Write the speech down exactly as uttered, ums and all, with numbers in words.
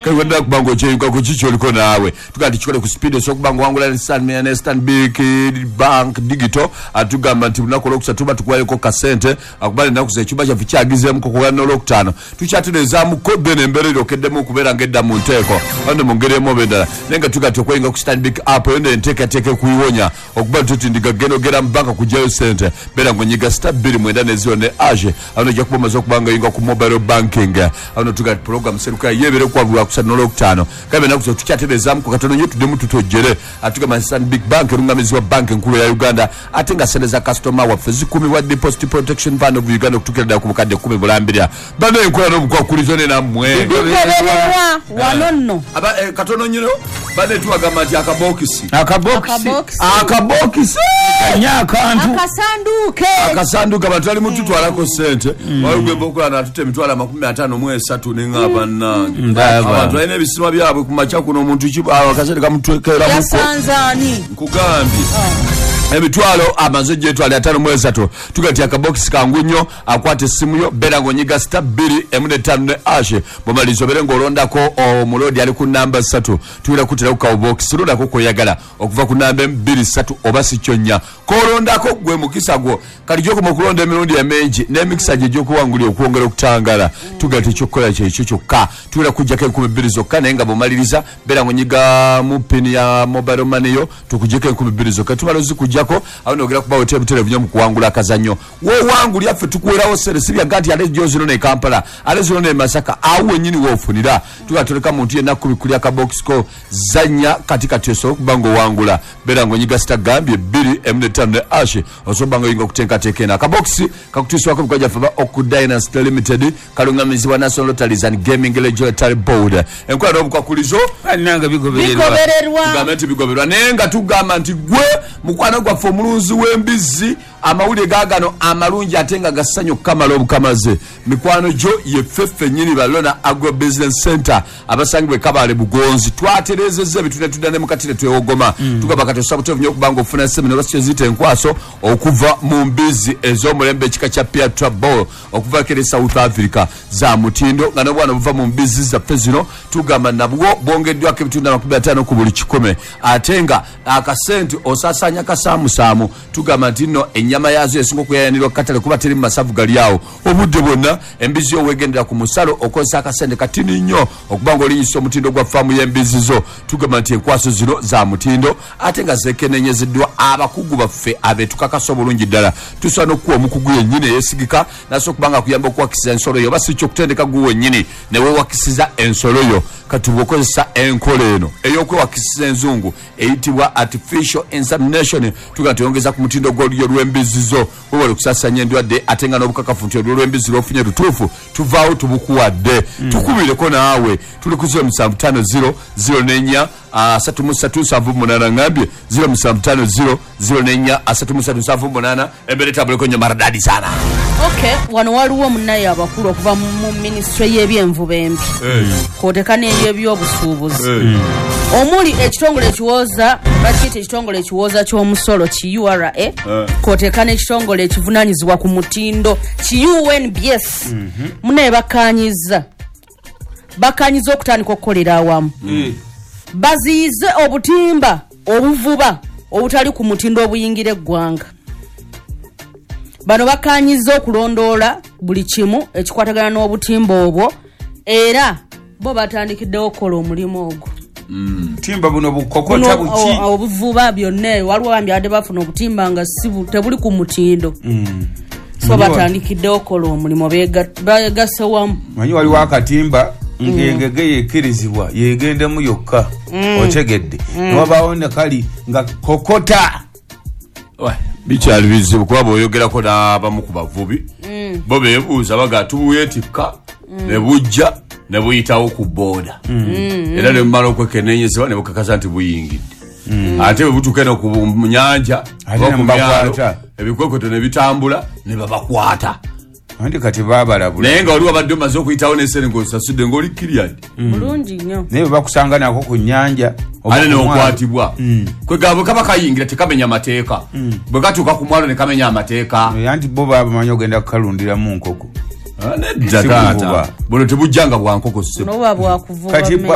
Kaiwenda kubango cheyuka kuchicho liko naawe. Tukati chikole kuspeed so kubango wangula ni Stan Stanbic Bank Digital atugamba nti lunaku olwokusatu tuba tukuwayoko kasente akubale ennaku z'ekyumba kyaffe kyagizeemu kukola n'olwokutaano tukyatereezaamu ko then embeera eryokeddemu okubeera ng'edda mu nteeko ande mu ngeri emu oba endala naye nga tugati okweyinga ku Stanbic app eyo enteekateeka ekuyiwonya okuba nti ndiga genda ogera mu banka kuggyayo sente beera ng'onyiga star bbiri mwenda ne zero ne age awo ojja kuba omaze okuba nga oyinga ku mobile banking awo tugati program seruka yeebere kuwabulwa kusatu n'olwokutaano kabe ennaku tukyatereezaamu ku katono nnyo tuddemu tutojjere atugamba Stanbic Bank erungamizibwa banka enkulu ya Uganda ate nga sente za kasitoma waffe zikumibwa Deposit Protection Fund of Uganda okutuukira ddala ku bukadde kkumi bulambirira bano enkola n'obukwakulizo ne nammwe bigobererwa wano nno Aba eh, katono nnyo bane tubagamba nti akabokisi akabokisi akabokisi kanya akantu akasanduke akasanduke abantu bali mututwalako ssente waliwo okola n'atuta emitwalo amakumi ataano mu esatu neŋŋamba nnange abantu balina ebisima byabwe ku makya kuno omuntu ki akasente kamutwekeramuko yasanzaani nkugambye emitwalo amaze gyetwala ataano mu esatu tugati akabokisi kangu nnyo akwata essimu yo beera ng'onyiga star bbiri emu n'ettaano ne ashe bw'omaliriza obeere ng'olondako omulodi ali ku namba ssatu tuwera kutera ku kabokisi londako kw'oyagala okuva ku namba emu bbiri ssatu oba si kyo nnya k'olondako gwe mukisa gwo kati gy'okoma okulonda emirundi emingi n'emikisa gye egy'okuwangulira okwongera okutangala tugati ekyokukola kyekyo kyokka tuwera kuggyako enkumi bbiri zokka naye nga bw'omaliriza beera ng'onyiga mu pini ya mobile money yo tukuggyeko enkumi bbiri zokka tumala ozikuggyako awo nogera kubawo tebutereevu nnyo mu kuwangula akazannyo w'owangulya ffe tukuwerawo ssente si byaga nti ate gyo zino ne Kampala ate zino ne Masaka awo wennyini w'ofunira tuba toleka muntu yenna kubikulya akabokisi ko zannya kati kati osobola okuba ng'owangula beera ng'onyiga sita gambye bbiri emu n'ettaano ne ashe osobola okuba ng'oyinga okuteekateeka eno akabokisi kakutuusibwako emikono gyaffe aba Oku Dynasty Limited kalungamizibwa National Lotteries and Gaming Regulatory Board enkola n'obukwakulizo bannange bigobererwa bigobererwa tugambe nti bigobererwa naye nga tugamba nti gwe mukwano gwaffe omulunzi w'embizzi amawulire gaagano amalungi ate nga gassanyu okukamala obukamaze mikwano gyo yeffe ffennyini balona Agro Business Center abasangibwa e Kabale Bugonzi twatereezezza ebintu ne tudda ne mu kati ne twewogoma tugamba kati osobola buteevu nnyo okuba nga ofuna semina oba kyeziyita enkwaso okuva mu mbizzi ez'omulembe ekika kya Piatra Ball okuva kere South Africa za mutindo nga n'obwana obuva mu mbizzi zaffe zino tugamba nabwo bwongeddwako ebitundu amakumi ataano ku buli kikumi ate nga akasente osaasaanya kasaamusaamu tugamba nti nno ennyama yaazo esinga okuyayanirwa katale kuba teri mu masavu gali awo obudde bwonna embizzi yo weegendera ku musalo okozesa akasente katini nnyo okuba ng'olinyisa omutindo gwa faamu y'embizzi zo tugamba nti enkwaso zino za mutindo ate nga zeekenneenyezeddwa abakugu baffe abeetukakasa obulungi ddala tusobola n'okukuwa omukugu yennyini eyeesigika nasobola okuba nga akuyamba okuwakisiza ensolo yo oba si kyo okutendeka gwe wennyini ne weewakisiza ensolo yo kati bw'okozesa enkola eno ey'okwewakisiza enzungu eyitibwa artificial insemination tugamba nti oyongeza ku mutindo gw'olulyo lw'embizzi zo wewale okusaasaanya endwadde ate nga n'obukakafu nti olulyo lw'embizzi lw'ofunye lutuufu tuvaawo tubukuwadde tukubireko naawe tuli ku zero musanvu ttaano zero zero n'ennya asatu mu ssatu nsanvu mu munaana ngambye zero musanvu ttaano zero zero n'ennya asatu mu ssatu nsanvu mu munaana embeera etambuleko nnyo maradadi sana okay wano waliwo munnaye abakulu okuva mu mu minisitule y'ebyenvuba embi kwoteka n'ey'ebyobusuubuzi omuli ekitongole ekiwooza bakiyita ekitongole ekiwooza ky'omusolo ki U R A kwoteka n'ekitongole ekivunaanyizibwa ku mutindo ki U N B S munnaye bakkaanyizza bakkaanyizza okutandika okukolera awamu baziyize obutimba obuvuba obutali ku mutindo obuyingira eggwanga bano bakkaanyizza okulondoola buli kimu ekikwatagana n'obutimba obwo era bo batandikiddewo okukola omulimu ogwo timba buno bukokota Buno, buki o- obuvuba byonna waliwo bambi abadde bafuna obutimba nga si bu- tebuli ku mutindo so batandikiddewo okukola omulimu beega- beegasse wamu manyi waliwo akatimba ng'engege yekkirizibwa yegendemu yokka otegedde newabaawo ne kali nga kokota bikyali bizibu kuba bw'oyogerako n'abamu ku bavubi bo beebuuza baga tubuyetikka ne bujja ne buyitawo ku booda era ne bumala okwekenneenyezebwa ne bukakasa nti buyingidde ate bwe butuuka eno ku nyanja Ate oba ne ku myalo mubakwata. ebikwekweto ne bitambula ne babakwata anti kati baabalabula naye nga wali wabadde omaze okuyitawo n'esente ng'osasudde ng'oli kiriyadi bulungi nnyo naye bwe bakusanga nako ku nyanja oba ate ku mwalo. n'okwatibwa kwegamba bwe kaba kayingira tekamenya mateeka bwe katuuka ku mwalo ne kamenya amateeka Eh, anti bo babamanyi ogenda kukalundiramu nkoko Ah, nedda Si taata buvuba. buno tebujjanga bwa nkoko ssebo noba bwakuvuba kati mmere.